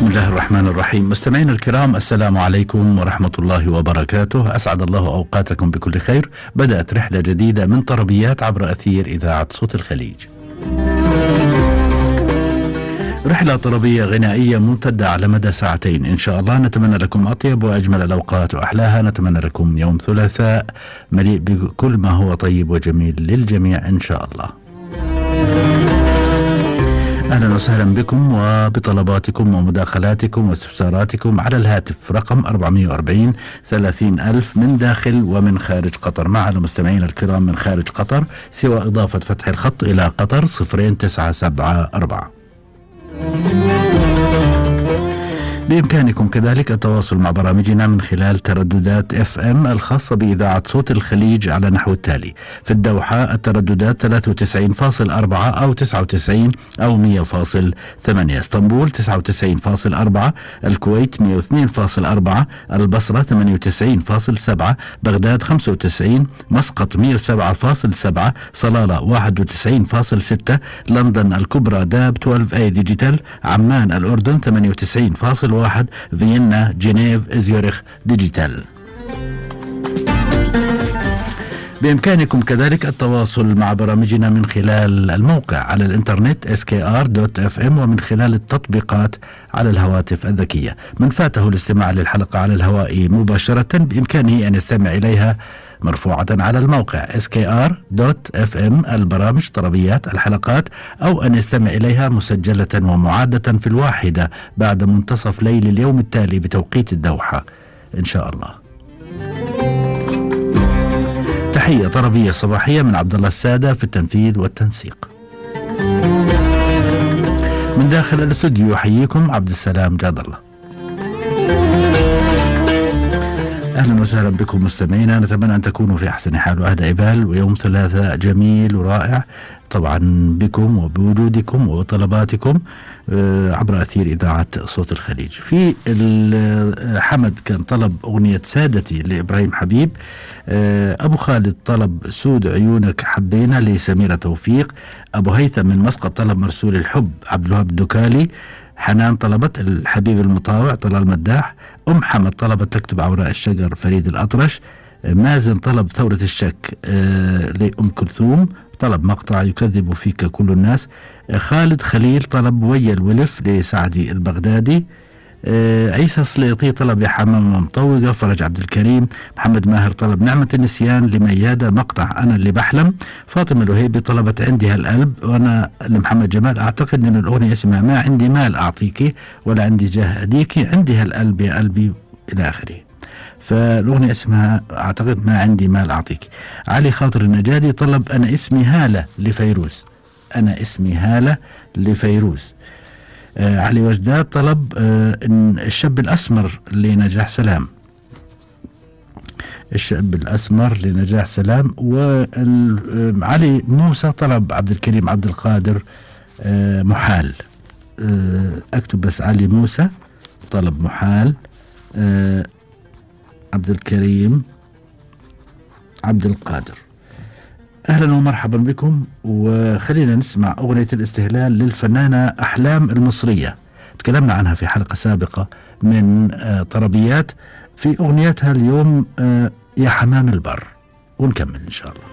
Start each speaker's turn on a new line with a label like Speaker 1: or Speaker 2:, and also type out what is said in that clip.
Speaker 1: بسم الله الرحمن الرحيم. مستمعينا الكرام، السلام عليكم ورحمة الله وبركاته. أسعد الله أوقاتكم بكل خير. بدأت رحلة جديدة من طربيات عبر أثير إذاعة صوت الخليج. رحلة طربية غنائية ممتدة على مدى ساعتين إن شاء الله. نتمنى لكم أطيب وأجمل الأوقات وأحلاها. نتمنى لكم يوم ثلاثاء مليء بكل ما هو طيب وجميل للجميع إن شاء الله. أهلا وسهلا بكم وبطلباتكم ومداخلاتكم واستفساراتكم على الهاتف رقم 440 30,000 من داخل ومن خارج قطر. معنا المستمعين الكرام من خارج قطر سوى إضافة فتح الخط إلى قطر 0974. بإمكانكم كذلك التواصل مع برامجنا من خلال ترددات FM الخاصة بإذاعة صوت الخليج على نحو التالي: في الدوحة الترددات 93.4 أو 99 أو 100.8، اسطنبول 99.4، الكويت 102.4، البصرة 98.7، بغداد 95، مسقط 107.7، صلالة 91.6، لندن الكبرى داب 12A ديجيتال، عمان الأردن 98.1، فيينا جنيف زيورخ ديجيتال. بإمكانكم كذلك التواصل مع برامجنا من خلال الموقع على الإنترنت skr.fm ومن خلال التطبيقات على الهواتف الذكية. من فاته الاستماع للحلقة على الهواء مباشرة بإمكانه أن يستمع إليها مرفوعة على الموقع skr.fm البرامج طربيات الحلقات، أو أن يستمع إليها مسجلة ومعادة في 1 بعد منتصف ليل اليوم التالي بتوقيت الدوحة إن شاء الله. تحية طربية صباحية من عبد الله السادة في التنفيذ والتنسيق. من داخل الاستوديو يحييكم عبد السلام جاد الله. أهلا وسهلا بكم مستمعينا. نتمنى أن تكونوا في أحسن حال وأهدى بال، ويوم ثلاثاء جميل ورائع طبعا بكم وبوجودكم وطلباتكم عبر أثير إذاعة صوت الخليج. في حمد كان طلب أغنية سادتي لإبراهيم حبيب، أبو خالد طلب سود عيونك حبينا لسميرة توفيق، أبو هيثم من مسقط طلب مرسول الحب عبد الوهاب الدكالي، حنان طلبت الحبيب المطاوع طلال مداح، أم حمد طلبت تكتب عوراء الشجر فريد الأطرش، مازن طلب ثورة الشك لأم كلثوم، طلب مقطع يكذب فيك كل الناس، خالد خليل طلب ويا الولف لسعدي البغدادي، عيسى سليطي طلب يا حمام مطوقة فرج عبد الكريم، محمد ماهر طلب نعمة النسيان لميادة مقطع أنا اللي بحلم، فاطمة الوهيبي طلبت عندي هالقلب، وأنا لمحمد جمال أعتقد أن الأغنية اسمها ما عندي مال أعطيكي ولا عندي جاه أديكي، عندي هالقلب يا قلبي إلى آخره. فالأغنية اسمها أعتقد ما عندي مال أعطيكي. علي خاطر النجادي طلب أنا اسمي هالة لفيروز، أنا اسمي هالة لفيروز. علي وجداد طلب الشاب الأسمر لنجاح سلام، الشاب الأسمر لنجاح سلام. وعلي موسى طلب عبد الكريم عبد القادر محال. أكتب بس علي موسى طلب محال، عبد الكريم عبد القادر. أهلا ومرحبا بكم، وخلينا نسمع أغنية الاستهلال للفنانة أحلام المصرية. تكلمنا عنها في حلقة سابقة من طربيات، في أغنيتها اليوم يا حمام البر، ونكمل إن شاء الله.